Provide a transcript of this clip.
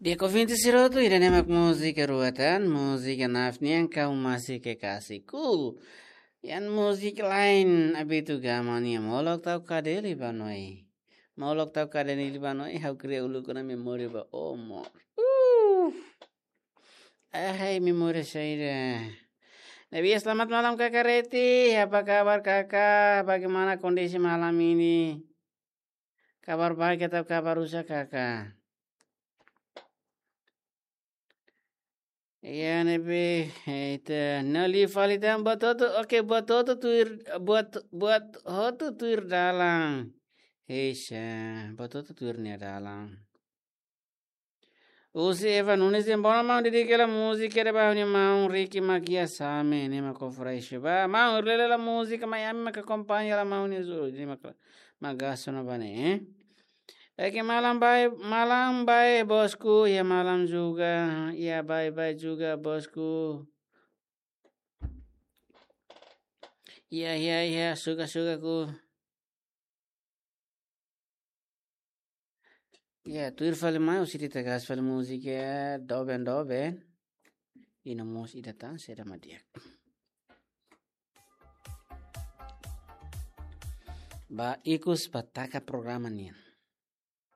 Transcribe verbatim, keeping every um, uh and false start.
Iha ouvinte sira hotu, ida-ne'e mak múzika rua tan, múzika Naf nian Kau Masih Kekasihku. Iha múzika lain, Abitu Gama nian Molok Tau Kadeli ba Noi. Molok Tau Kadeli ba Noi, ha'u kria uluk ona memória ba amor. Uh. Ahai, memória saida. Ne'ebé, selamat malam Kakak Reti, apa kabar Kakak? Bagaimana kondisi malam ini? Kabar baik atau kabar rusak, Kakak? Iya, ne'ebé, eh, ita nali fali tan buat hotu, oke, buat hotu tuir, buat, buat hotu tuir dalan. Heisa, buat hotu tuir nia dalan. Husi Eva Nunes dehan: "Bom, maun, dedika hela múzika ida ba ha'u-nia maun Ricky Magia Same, ne'e mak kofra isu ba. Maun, hela hela múzika, mai ami mak akompaña hela maun nia zu, ne'e mak, mak gaso na ba ne'e, eh?" Oke, malam bae, malam bae bosku, iha malam juga, iha bae bae juga bosku. Iha, iha, iha, suka sukaku. Iha, tuir fali mai, husi ita gas fali múzika, doben, doben. I no mós ida tan, saida mak di'ak. Ba ikus ba taka programa nian.